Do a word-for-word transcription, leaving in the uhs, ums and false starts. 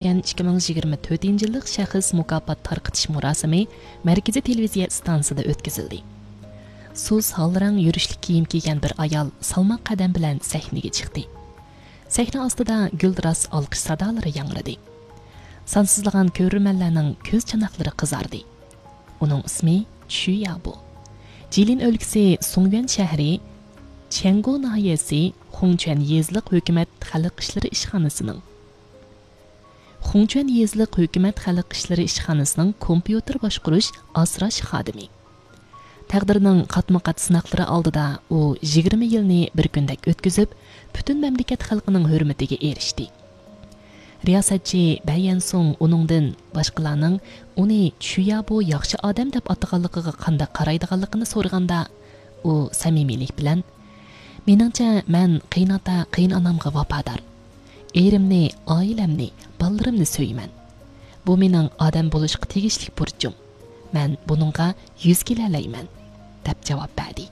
ئىككى مىڭ يىگىرمە تۆتىنچى يىللىق شەخس مۇكاپات تارقىتىش مۇراسىمى مەركىزىي تېلېۋىزىيە ئىستانسىسىدا ئۆتكۈزۈلدى. سۇس ھال رەڭ يۈرۈشلۈك كىيىم كىيگەن بىر ئايال سالماق قەدەم بىلەن سەھنىگە چىقتى. سەھنە ئاستىدا گۈلدۈراس ئالقىش سادالىرى ياڭرىدى. سانسىزلىغان كۆرۈرمەنلەرنىڭ كۆز چاناقلىرى قىزاردى. ئۇنىڭ ئىسمى چۈ يابو. جىلىن ئۆلكىسى سۇڭيۈەن شەھىرى، چيەنگو ناھىيەسى، خۇڭچۈەن يېزىلىق ھۆكۈمەت خەلق ئىشلىرى ئىشخانىسىنىڭ، خۇڭچۈەن يېزىلىق ھۆكۈمەت خەلق ئىشلىرى ئىشخانىسىنىڭ كومپيۇتېر باشقۇرۇش ئاسراش خادىمى. تەقدىرنىڭ قاتمۇ-قات سىناقلىرى ئالدىدا ئۇ يىگىرمە يىلنى بىر كۈندەك ئۆتكۈزۈپ، پۈتۈن مەملىكەت خەلقىنىڭ ھۆرمىتىگە ئېرىشتى. رىياسەتچى بەي يەنسۇڭ ئۇنىڭدىن باشقىلارنىڭ ئۇنى چۈ يابو ياخشى ئادەم دەپ ئاتىغانلىقىغا قانداق قارايدىغانلىقىنى سورىغاندا، ئۇ سەمىمىيلىك بىلەن، مېنىڭچە، مەن قېيىنئاتا، قېيىنئانامغا ۋاپادار. ئېرىمنى، ئائىلەمنى، بالىلىرىمنى سۆيىمەن. بۇ مېنىڭ ئادەم بولۇشقا تېگىشلىك بۇرچۇم. مەن بۇنىڭغا يۈز كېلەلەيمەن، دەپ جاۋاب بەردى.